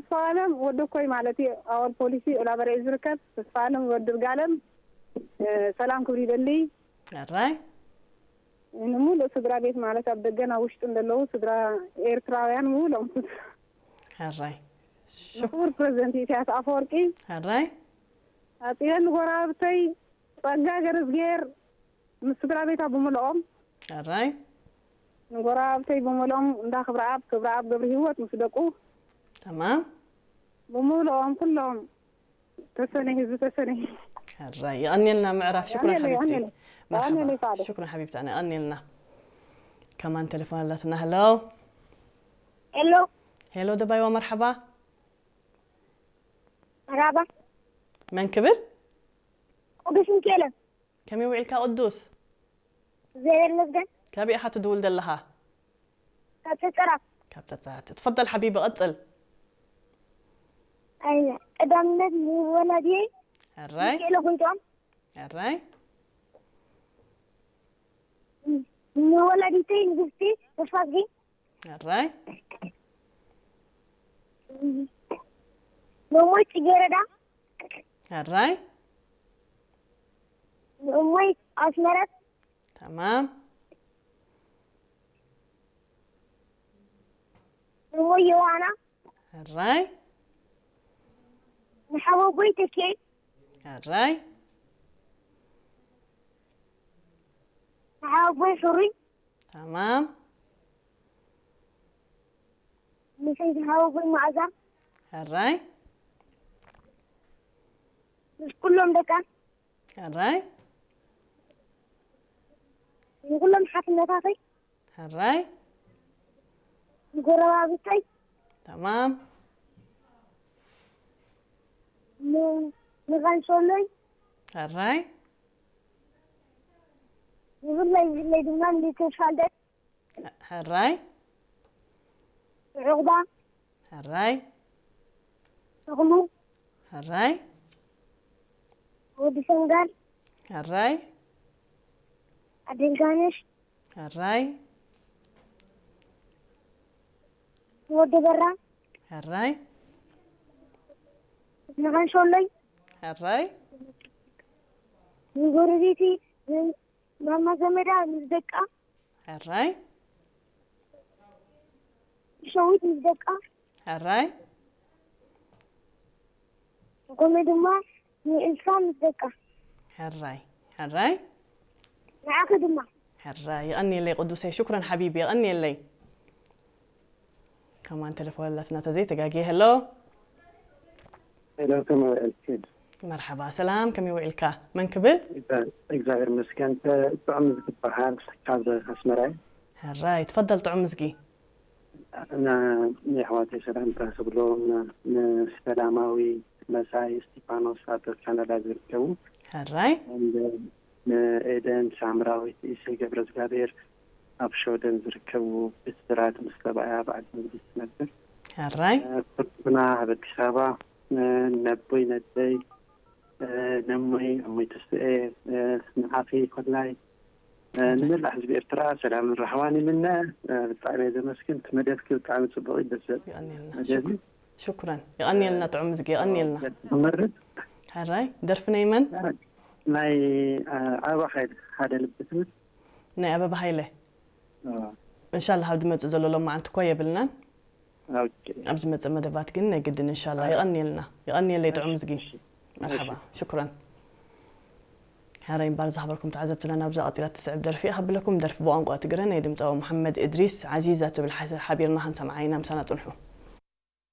ተስፋ ኣለም ወዲ ኮይ ማለት እዩ ኣወል ፖሊሲ ኦላበረ እዩ ዝርከብ። ተስፋ ኣለም ወዲ ርጋለም ሰላም ክብሪ ይደሊ። ሕራይ ንሙሉእ ስድራ ቤት ማለት ኣብ ደገን ኣብ ውሽጥን ዘለዉ ስድራ ኤርትራውያን ምሉኦም ሕራይ ንክቡር ፕሬዚደንት ኢሳያስ ኣፈወርቂ ሕራይ ኣፅየን ንጎረባብተይ ጸጋ ገረዝጌር ምስ ስድራ ቤታ ብምልኦም ሕራይ ንጎረባብተይ ብምልኦም እንዳ ክብረኣብ ክብረኣብ ገብረ ህይወት ምስ ደቁ ተማም ብምልኦም ኩሎም ተሰነይ ህዝቢ ተሰነይ ሕራይ የቐንየልና ምዕራፍ ሽኩረን የቐንየለይ፣ ሓቢብቲ የቐንየለይ። የቐንየለይ መርሓባ ሳዕዶ። ሽኩረን ሓቢብቲ ኣነ የቐንየልና ከማን ቴሌፎን ኣላትና ሄሎ ሄሎ ሄሎ ደባይዋ መርሓባ መራባ መን ክብል ቅዱስ ሚካኤል ከመይ ውዒልካ ቅዱስ እግዚኣብሔር ይመስገን ካበይ ኢኻ ትድውል ዘለኻ ካብ ተፀራ ካብ ተጻት ትፈضل ሓቢቢ ቀጽል ኣይነ ቀዳምነት ንወላዲየይ ሕራይ ሚካኤል ኣጎይቶም ሕራይ ንወላዲተይ ንግስቲ ተስፋዝጊ ሕራይ ንእሞይ ፅጌረዳ ሕራይ ንእሞይ ኣስመረት ተማም ንእሞይ ዮሃና ሕራይ ንሓወቦይ ተኬ ሕራይ ንሓወቦይ ሕሩይ ተማም ንሰይቲ ሓወቦይ መኣዛ ሕራይ ምስ ኩሎም ደቃ ሕራይ ንኩሎም ሓፍነታተይ ሕራይ ንጎረባብተይ ተማም ን- ንቐንሶሎይ ሕራይ ንብለይ ብለይ ድማ ንተስፋልደ ሕራይ ዑቕባ ሕራይ ተኽሉ ሕራይ ወዲ ሰንጋል ሕራይ ኣደልጋነሽ ሕራይ ወዲ በራ ሕራይ ንቐንሶሎይ ሕራይ ንጎረቤቲ ማማ ዘመዳ ምስ ደቃ ሕራይ ሸዊት ምስ ደቃ ሕራይ ከምኡ ድማ ንኤልሳ ምስ ደቃ ሕራይ ሕራይ ንዓኺ ድማ ሕራይ የቐንየለይ ቅዱሰይ ሽኩረን ሓቢቢ የቐንየለይ ከማን ቴሌፎን ኣላትና ተዘይተጋግየ ሄሎ ሄሎ ከመይ ውዕልኪ? መርሓባ ሰላም ከመይ ውዒልካ መን ክብል እግዚኣብሔር ይመስገን። ጥዑም ዝግበሃል ካብ ኣስመራ እዩ። ሕራይ ትፈደል ጥዑም ምዝጊ እና የሕዋተይ ሰላምታ ክብሎ ንሰላማዊ መሳይ እስቲፋኖስ ኣብ ካናዳ ዝርከቡ ሕራይ ንኤደን ሳምራዊት ኢሰይ ገብረ እግዚኣብሔር ኣብ ሸወደን ዝርከቡ ብስራት ምስ ሰብኣያ ኣብ ዓዲ እንግሊዝ ትነብር ሕራይ ፍርቱና ኣብ ኣዲስ ኣበባ ነቦይ ነደይ ነሞይ እሞይ ተስኤ ንዓኺ ኮላይ ንመላእ ህዝቢ ኤርትራ ሰላምን ራህዋን ይምነ። ብጣዕሚ እየ ዘመስግን። እቲ መደብኪ ብጣዕሚ ፅቡቕ እዩ። ደስ ዘብል የቐንየልና መደብ እዩ። ሽኩረን የቐንየልና ጥዑም ምዝጊ የቐንየልና ክመርጥ ሕራይ ደርፊ ናይ መን ናይ ኣበባ ሓይል ሓደ ልቢ ትብል ናይ ኣበባ ሃይለ እንሻላ ኣብ ዝመፅእ ዘሎ ሎማዓንቲ እኮ የብልናን ኦኬ። ኣብ ዝመፅእ መደባት ግን ናይ ግድን እንሻላ የቐንየልና የቐንየለይ ጥዑም ምዝጊ መርሓባ ሽኩረን ሕራይ እምበር ዝሃበርኩም ተዓዘብትና ናብዛ ቀፂላ ትስዕብ ደርፊ እያ ከብለኩም ደርፊ ብቋንቋ ትግረ ናይ ድምፃዊ መሓመድ እድሪስ ዓዚዛ ትብል ሓቢርና ክንሰምዓ ኢና ምሳና ፅንሑ